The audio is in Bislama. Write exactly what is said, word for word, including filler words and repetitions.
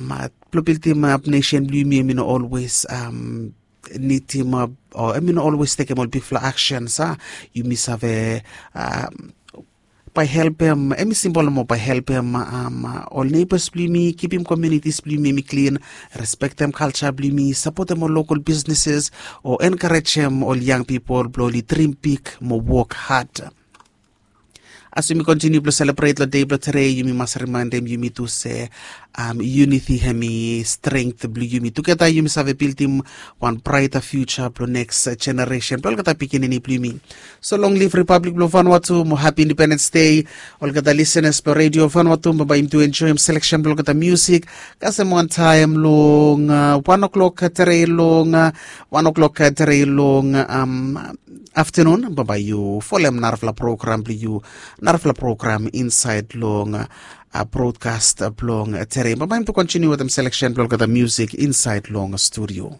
Blong bildim ap nesen blong yumi em i no olwes nidim o em i no olwes tekem ol bigfala aksens a. Yumi save bae helpem em i simpol mo bae helpem ol neibas blong yumi, kipim komiunitis blong yumi em i klin, respektem kalja blong yumi, sapotem ol lokal bisneses, o enkarejem ol yang pipol blong oli drim bik mo wok had. As yumi kontiniu blong selebret long dei blong tere, yumi mas rimaendem yumi tu se yuniti hem i strength blong yumi. Tugeta yumi save bildim wan braeta fiuja blong neks jeneresen blong olgeta pikinini blong yumi. So long liv ripablik blong Vanuatu mo hapi indipendens dei. Olgeta lisenas blong redio Vanuatu, bambae yumi tu enjoem seleksen blong olgeta musik kasem wantaem long wan o'klok tere long wan o'klok tere long aftenun, bambae yu folem narafala program blong yu, narafala program insaed long brodkas blong tere. Bambae yumi tu kontiniu wetem seleksen blong olgeta musik insaed long studio.